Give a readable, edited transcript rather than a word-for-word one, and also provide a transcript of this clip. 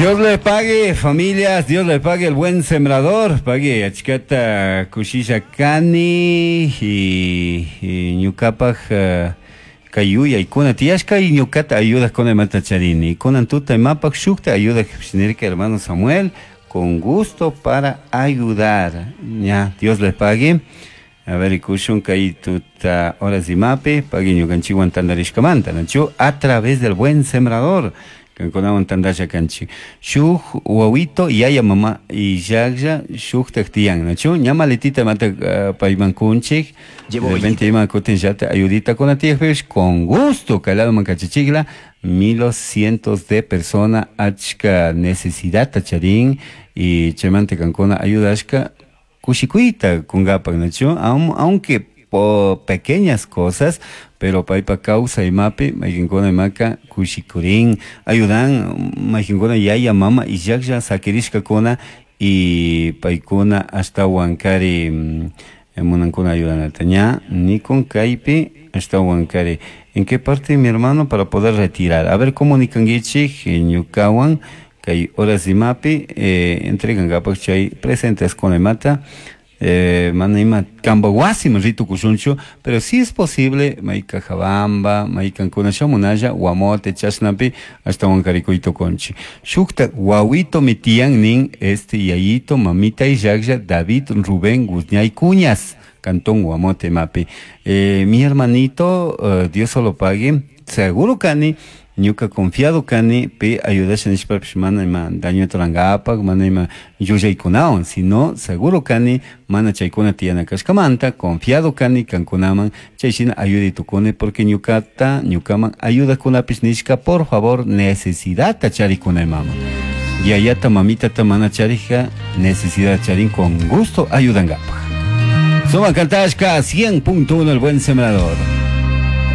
Dios le pague, familias, Dios le pague el buen sembrador, pague achkata kushisha kani y, y ñukapak kay yuyaykuna tiyashka y ñukata ayudajkuna imata charini. Kunan tuta imapak shukta ayudak nirka hermano Samuel, con gusto para ayudar. Ya, Dios le pague. A ver, ikushun kay tuta horas imapi, pagui ñukanchikwan tantarishkamanta, nachu? A través del buen sembrador. Kankunawan tantasha kanchik. Shuk wawito yaya mama illaklla shuktak tiyan, nachu? Ña maletita imata payman kunchik. De repente ima kutin llata ayudita kuna tiyakpipish con gusto kay ladoman kachichikla milos cientos de persona achka necesidadta charin y chaymanta kankuna ayudashka kushikuyta kunkapak, nachu? Aunque po pequeñas cosas, pero paypa kawsay imapi mayqinkuna imaka kushikurin, ayudan mayqinkuna yaya mama illaklla sakirishkakuna y paykuna ashtawan kari munankuna ayudanata. Ña nikun kaypi ashtawan kari. ¿En qué parte, mi hermano, para poder retirar? A ver, comunicanguichik ñukawan kay horas imapi entregankapak chay presentes con imata. Mana ima kanpa wasiman ritukushunchu, pero si es posible may Cajabamba, may kankuna shamunalla Guamote chashnapi ashtawan karikuy tukunchik. Shukta wawitomi tiyan nin este yayito mamita illaklla David Rubén Guzñay Cuñas, Cantón Guamote imapi. Mi hermanito, Dios solo pague, seguro kani, ñuka confiado kani, pi ayudasha nishpapish mana ima daño turangapak, mana ima llullaykunawan, sino seguro kani, mana chaykuna tiyana kashkamanta, confiado kani kankunaman, chay shina ayuday tukuni, porque ñukata, ñukaman ayudakunapish nishka, por favor, necesidadta charikuna imama. Yayata, mamitata mana charija, necesidad charin, con gusto ayudangapak. Suma Kantashka, 100.1 El Buen Sembrador.